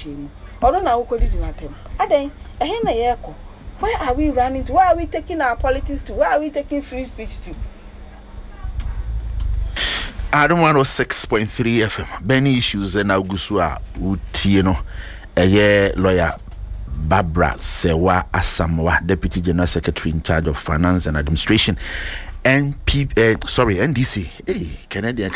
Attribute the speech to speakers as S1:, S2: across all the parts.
S1: nhyehyɛe mu. Ɔno na wokɔdidi n'atɛm. Adɛn? Ɛhe na yɛrekɔ? Where are we running to? Where are we taking our politics to? Where are we taking free speech to?
S2: Adom 106.3 FM Burning Issues na ogu so a wotie no ɛyɛ lawyer Barbara Sewa Asamoah, Deputy General Secretary in charge of Finance and Administration, NP, sorry, NDC. Hey, Canadian,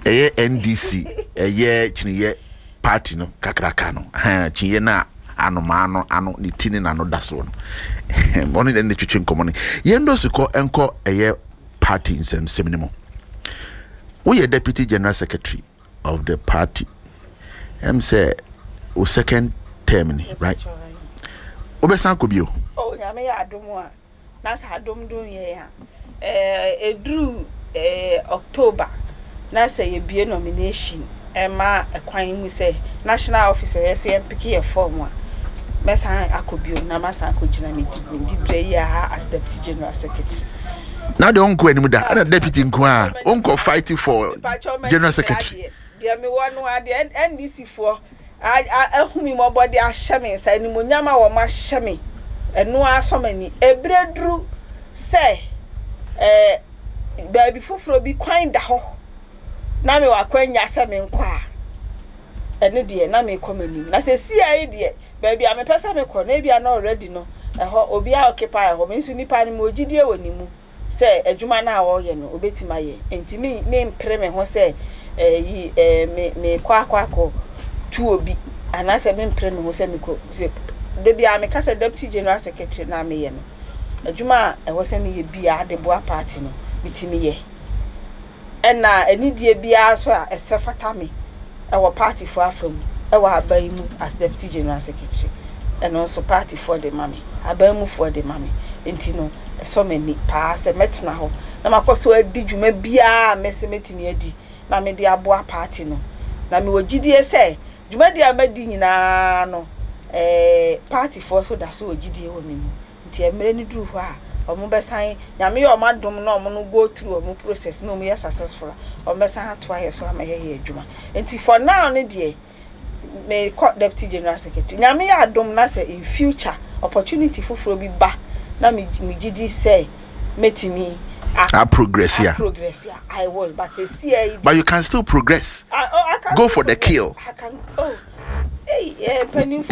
S2: ɛyɛ NDC, ɛyɛ kyiniyɛ party no kakraka no, kyiniyɛ no a anomaa no ano ne ti ne n'ano da soɔ no, ɔne ne ne twetwe nkɔmmɔ no. Yɛn dɔsi kɔ nkɔ ɛyɛ party nsɛmsɛm no mu. Woyɛ deputy general secretary of the party. Ɛm sɛ wo second term ni, right? Wobɛsan kɔ bio?
S1: Oh, Nyame yɛ adom a, na sɛ adom dom yɛn a, eh, ɛduru eh, October na sɛ yɛbue nomination ɛma kwan mu sɛ national office ɛyɛ sɛ yɛmpeke yɛ form a, mɛsan akɔ bio na masan akɔgyina me diberɛ yi a as deputy general secretary.
S2: Na deɛ ɔnkɔ anim da ɛna deputy nko a ɔnkɔ fight for general secretary.
S1: Deɛ mewɔ no a deɛ NDC foɔ ahu me mmɔbɔ de ahyɛ me nsa, animuonyam a wɔn ahyɛ me, ɛno ara sɔ m'ani. Ɛberɛ duru sɛ ɛɛ baabi foforɔ bi kwan da hɔ na mewɔ akwanya sɛ menkɔ a, ɛno deɛ na mekɔ m'anim. Na seesei yi deɛ, baabi a mepɛ sɛ mekɔ no, ebia na already no, ɛhɔ obiara occupy hɔ. Me nso nipa no, mewɔ gyidie wɔ ne mu sɛ adwuma no a ɔreyɛ no, obetumi ayɛ. Enti me mempere me ho sɛ ɛyi ɛɛ me mekɔ akɔ akɔ tu obi anaasɛ mempere me ho sɛ mekɔ sɛ da biara meka sɛ deputy general secretary na meyɛ no, adwuma a ɛwɔ sɛ meyɛ biara de boa party no, metumi yɛ. Ɛna anidie biara nso a ɛsɛ fata me wɔ partyfoɔ afa mu wɔ aban mu as deputy general secretary, ɛno nso partyfoɔ de ma me, aban mufoɔ de ma me. Nti no, ɛsɔ m'ani paa sɛ mɛtena hɔ na makɔ so adi dwuma biara a mɛsɛ mɛtumi adi na mede aboa party no. Na mewɔ gyidie sɛ dwumadie a madi nyinaa no, eh, partyfoɔ nso da so wɔ gyidie wɔ me mu. Nti mmerɛ no duru hɔ a, ɔmo bɛsan, Nyame yɛ ɔmo adom na ɔmo no go through ɔmo process na ɔmo yɛ successful a, ɔmo bɛsan atoa yɛ so ama yɛayɛ adwuma. Nti for now no deɛ, me kɔ deputy general secretary. Nyame yɛ adom na sɛ in future opportunity foforɔ bi ba na me me gye di sɛ mɛtumi
S2: a A progress
S1: a progress a, I will. But seesei yi deɛ.
S2: But you can still progress.
S1: I, oh, I can
S2: go
S1: still
S2: for the
S1: progress.
S2: Kill.
S1: I can, oh, hey, eh, mpanimfoɔ.